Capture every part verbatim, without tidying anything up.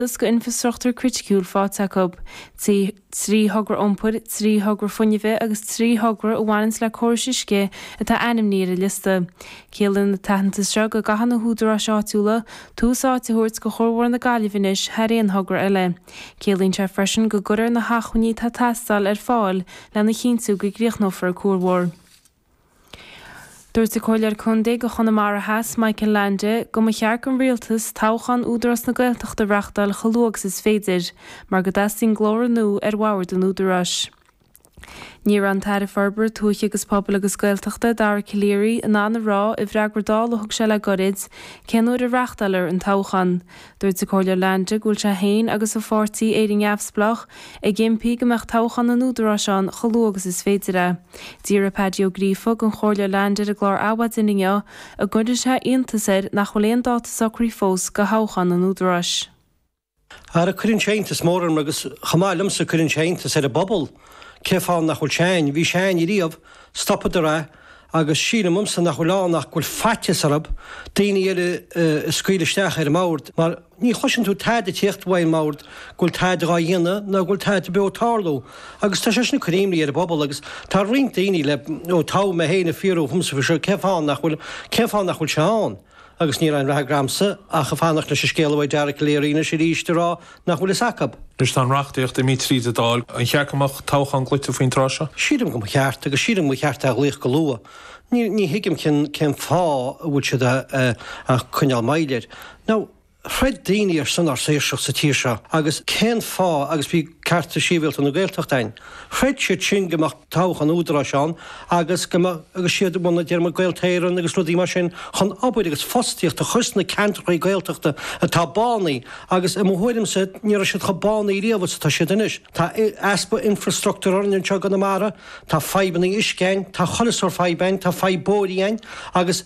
go infrastruchtúr criticiúil faighte acu. Trí thogra iompair, trí thogra fuinnimh agus trí thogra a bhaineann le córais uisce atá ainmnithe ar an liosta. Ciallaíonn an t-aitheantas seo go gcaithfidh na húdaráis áitiúla tús áite a thabhairt go chuarbhóthar na Gaillimhe anois thar aon thogra eile. Ciallaíonn sé freisin go gcuirfear na hacmhainní atá ag teastáil ar fáil lena chinntiú go gcríochnófar an cuarbhóthar. Dúirt an Comhairleoir Contae do Chonamara Theas Michael Leainde go mba cheart don rialtas toghchán Údarás na Gaeltachta a reáchtáil chomh luath agus is féidir, mar go dteastaíonn glór nua ar bhord an Údaráis. Ní raibh an tAire Forbartha Tuaithe agus Pobail agus Gaeltachta Dara Calleary in ann a rá i bhfreagra Dála a thug sé le gairid cén uair a reáchtálfar an toghchán. Dúirt an Comhairleoir Leainde go bhfuil sé féin agus a pháirtí Éire Neamhspleách ag impí go mbeadh toghchán an Údaráis ann chomh luath agus is féidir é. D'iarr Paddy Ó Gríofa den Chomhairleoir Leainde ar an gclár Adhmhaidin inniu an gcuireann sé iontas air nach bhfuil aon dáta socraithe fós do thoghchán an Údaráis. Ara cuireann sé iontas mór orm agus chomh maith liomsa cuireann sé iontas ar an bpobal cén fáth nach bhfuil sé ann, bhí sé ann riamh, stopadar é agus sílim ionsa nach bhfuil ann ach go bhfuil faitíos orthu daoine eile a scaoileadh isteach ar an mbord mar ní chloiseann tú tada ag tíocht uaidh an mbord go bhfuil tada dhá dhéanamh nó go bhfuil tada beo ag tarlú agus tá sé sin ag cur imní ar an bpobal agus tá roinnt daoine le ó toghadh mé féin ag fiafraí dhomsa faoi seo cén fáth nach bhfuil cén fáth nach bhfuil sé ann. Agus ní raibh aon fhreagra agamsa ach ag fanacht leis an scéala uaidh Dara Calleary anois arís a rá nach bhfuil fhios acu. Anois tá an reachtaíocht imithe tríd an Dáil. An cheart go mbeadh toghchán glaoite faoin tráth seo? Sílim go mba cheart agus sílim go mba cheart é a ghlaoch go luath. Ní ní thuigim cén cén fáth a bhfuil siad ag coinneáil moill air. Now throid daoine ar son ár saoirseacht sa tír seo agus cén fáth agus bhí cearta sibhialta na Gaeltachta ann. Chreid siad sin go mbeadh toghchán údaráis ann agus go mbeadh agus siad a bhunaigh deir muid Gaeltacht Éireann agus rudaí mar sin chun obair agus fostaíocht a chur sna ceantracha Gaeltachta atá bánaithe agus i mo thuairimse ní raibh siad chomh bánaithe riamh is atá siad anois. Tá easpa infrastruchtúir orainn anseo i gConamara, tá fadhbanna uisce ann, tá chuile sórt fadhb ann, tá fadhb bóithre ann agus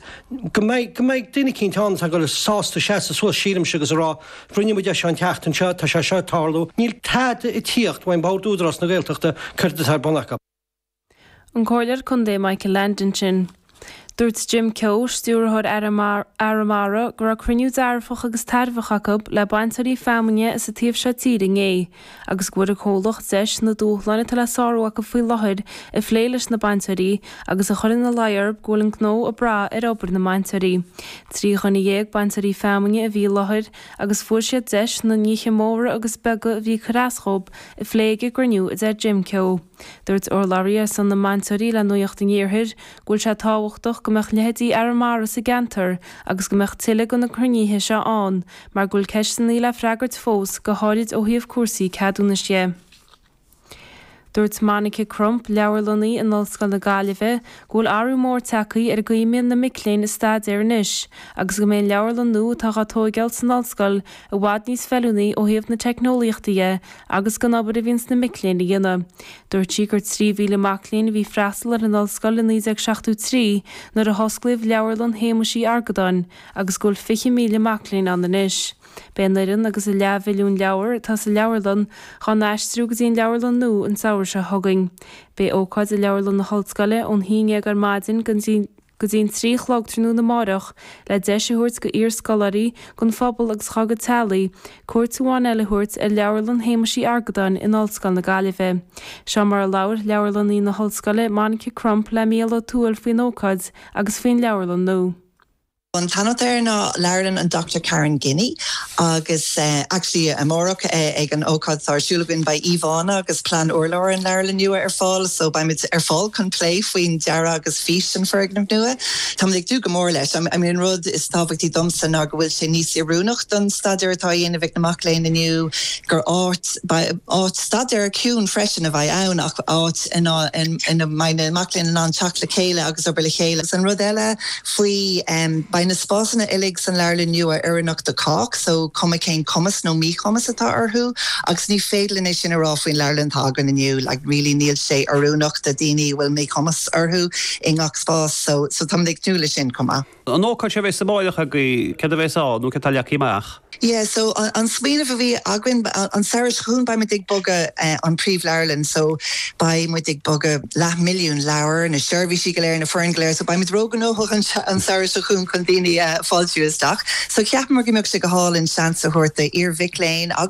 go mbeidh go mbeidh duine eicínt ann atá ag dul sásta seasamh suas sílimse agus a rá rinne muid é seo an tseachtain seo, tá sé seo ag tarlú. Níl tada ag tíocht uaidh Bord Údarás na Gaeltachta céard atá ar bun acu. An Comhairleoir Contae Michael Leainde ansin. Dúirt Jim Keogh, stiúrthóir Arramara, go raibh cruinniú dearfach agus tairbheach acu le bainteoirí feamainne as an taobh seo tíre inné, agus go bhfuair an comhlacht deis na dúshláin atá le sárú acu faoi láthair a phlé leis na bainteoirí agus a chur ina luí orthu go bhfuil an gnó ag brath ar obair na mbainteoirí. Trí dhuine dhéag bainteoirí feamainne a bhí i láthair agus fuair siad deis na nithe móra agus beaga a bhí ag cur as dóibh a phlé ag an gcruinniú, a deir Jim Keogh. Dúirt urlabhraí ar son na mbainteoirí le Nuacht an Iarthair go bhfuil sé tábhachtach go mbeadh leithéidí Arramara sa gceantar agus go mbeadh tuilleadh de na cruinnithe seo ann mar go bhfuil ceisteanna le freagairt fós, go háirid ó thaobh cúrsaí ceadúnais de. Dúirt Monica Crump, leabharlannaí in Ollscoil na Gaillimhe, go bhfuil athrú mór tagtha ar an gcaoi a mbíonn na mic léinn ag staidéar anois agus go mbeidh an leabharlann nua atá á tóigeáil san ollscoil i bhfad níos feiliúnaí ó thaobh na teicneolaíochta dhe agus den obair a bhíonns na mic léinn a dhéanamh. Dúirt sí gur trí mhíle mac léinn a bhí ag freastal ar an ollscoil i naoi déag seachtó trí nuair a hosclaíodh Leabharlann Shéamuis Uí Argadáin agus go bhfuil fiche míle mac léinn ann anois. Beidh an fhoireann agus an leathmhilliún leabhar atá sa leabharlann dhá n-aistriú go dtí an leabharlann nua an samhradh seo chugainn. Beidh ócáid i Leabharlann na hOllscoile ón haon déag ar maidin go dtí go dtí an trí a chlog tráthnóna amárach le deis a thabhairt go iarscoláirí, don phobal agus dhá gcuid teaghlaigh cuairt amháin eile a thabhairt ar Leabharlann Shéamuis Uí Argadáin in Ollscoil na Gaillimhe. Seo mar a labhair leabharlannaí na hOllscoile Monica Crump le Mícheál Ó Tuathail faoin ócáid agus faoin leabharlann nua. An t-ainm atá air ná Leabharlann an Doctor Karen Guinee agus actually amárach ag an ócáid atá ar siúl againn beidh íomhánna agus plean urláir an leabharlann nua ar fáil so beimid ar fáil chun plé faoin dearadh agus fís an foirgnimh nua. Táimid ag dúil go mór leis. I mean an rud is tábhachtaí domsa ná go bhfuil sé níos oiriúnach don staidéar atá á dhéanamh ag na mac léinn inniu, gur áit áit staidéir ciúin freisin a bheidh ann ach áit ina ina mbeidh na mac léinn in ann teacht le chéile agus obair le chéile. Agus an rud eile faoi beidh na spásanna uilig san leabharlann nua oiriúnach do chách, so cuma cén cumas nó míchumas atá orthu, agus ní féidir linn é sin a rá faoin leabharlann atá againn inniu, like really níl sé oiriúnach do daoine a bhfuil míchumas orthu i ngach spás, so so táimid ag tnúth leis sin chomh maith. An ócáid seo a bheas amárach agaibh, céard a bheas ann nó céard atá leagtha amach? Yeah, so an, an smaoineamh a bhí againn an samhradh seo chugainn beidh muid ag bogadh uh, an príomhleabharlann, so beidh muid ag bogadh leath milliún leabhar na seirbhísí go léir na foireann go léir, so beidh muid róghnóthach an, an samhradh seo chugainn chun daoine uh, fáiltiú isteach. So cheapamar go mbeadh sé go hálainn seans a thabhairt d'iar-mhic léinn agus